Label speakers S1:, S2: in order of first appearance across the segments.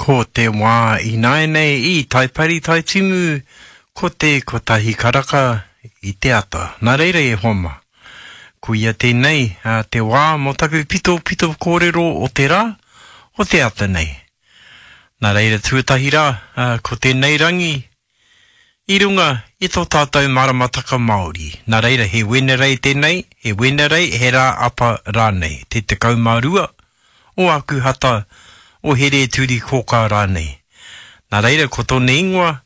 S1: Ko te wā ināianei i Taipari Taitimu ko te kotahi karaka i te ata. Nā reira e hoa mā, koia tēnei te wā mō taku pitopito kōrero o te rā, o te ata nei. Nā reira tuatahi rā, ko tēnei rangi i runga i tō tātou maramataka Māori. Nā reira he Wenerei tēnei, he Wenerei, he rā apa rānei, te 12 o Ākuhata, o Here-turi-kōkā rānei. Nā reira ko tōna ingoa,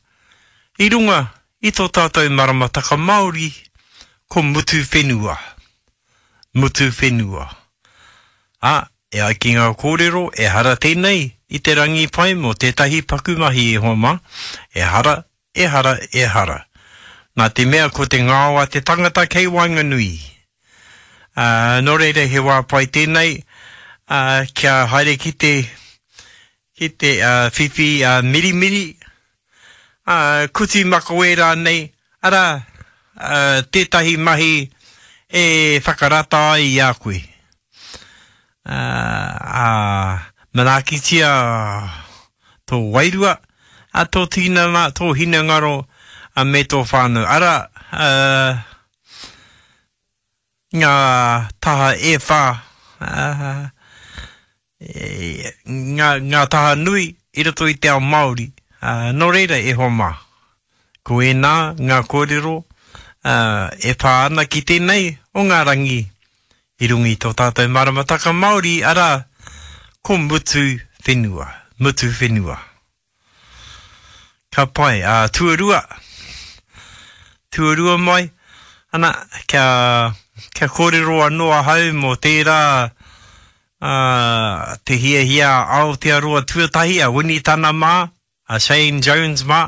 S1: i runga i tō tātou maramataka Māori, ko Mutuwhenua. Mutuwhenua. Ā, e ai ki ngā kōrero, ehara tēnei i te rangi pai mō tētahi paku mahi e hoa mā, ehara, ehara, ehara. Nā te mea ko te ngao a te tangata kei waenganui. Ā, nō reira he wā pai tēnei, ā, kia haere ki te, ki te whiwhi mirimiri, ā, kuti makawe rānei, arā, tētahi mahi e whakarata ai i a koe. Ā, ā, manaakitia tō wairua, ā, tō tinana, tō hinengaro, ā, me tō whānau. Arā, ā, ngā taha e whā, ngā, ngā taha nui i roto i te ao Māori. Nō reira e hoa mā, ko ēnā ngā kōrero e pā ana ki tēnei o ngā rangi i runga i tō tātou maramataka Māori, arā, ko Mutu Whenua, Mutu Whenua. Ka pai. Ā, tuarua, tuarua mai, ana, kia, kia kōrero anō ahau mō tērā, ā, te hiahia a Aotearoa tuatahi, a Winitana mā, a Shane Jones mā,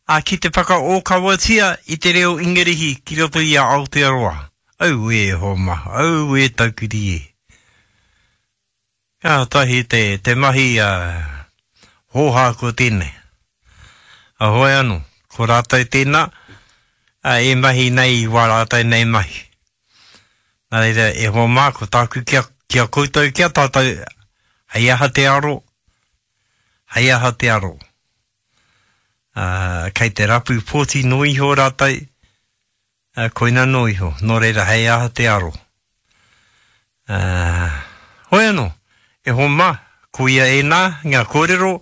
S1: ā, ki te whakaōkawatia i te reo Ingarihi ki roto i a Aotearoa. Auē, hoa mā, auē taukiri e. Kātahi te, te mahi a hōhā ko tēnei. A hoi anō, ko rātou tēnā, a, e mahi nei i wā rātou nei mahi. Nā reira, e hoa mā, ko tāku ki a, ki a koutou, ki a tātou, hei aha te aro, hei aha te aro. Ā, kei te rapu pōti noa iho rātou, Ā, koina nō iho, nō reira hei aha te aro. Ā, hoi anō, e hoa mā, koia ēnā ngā kōrero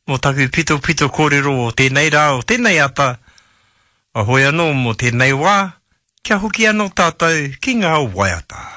S1: mō taku pitopito kōrero o tēnei rā, o tēnei ata, ā, hoi anō mō tēnei wā, kia hoki anō tātou ki ngā waiata.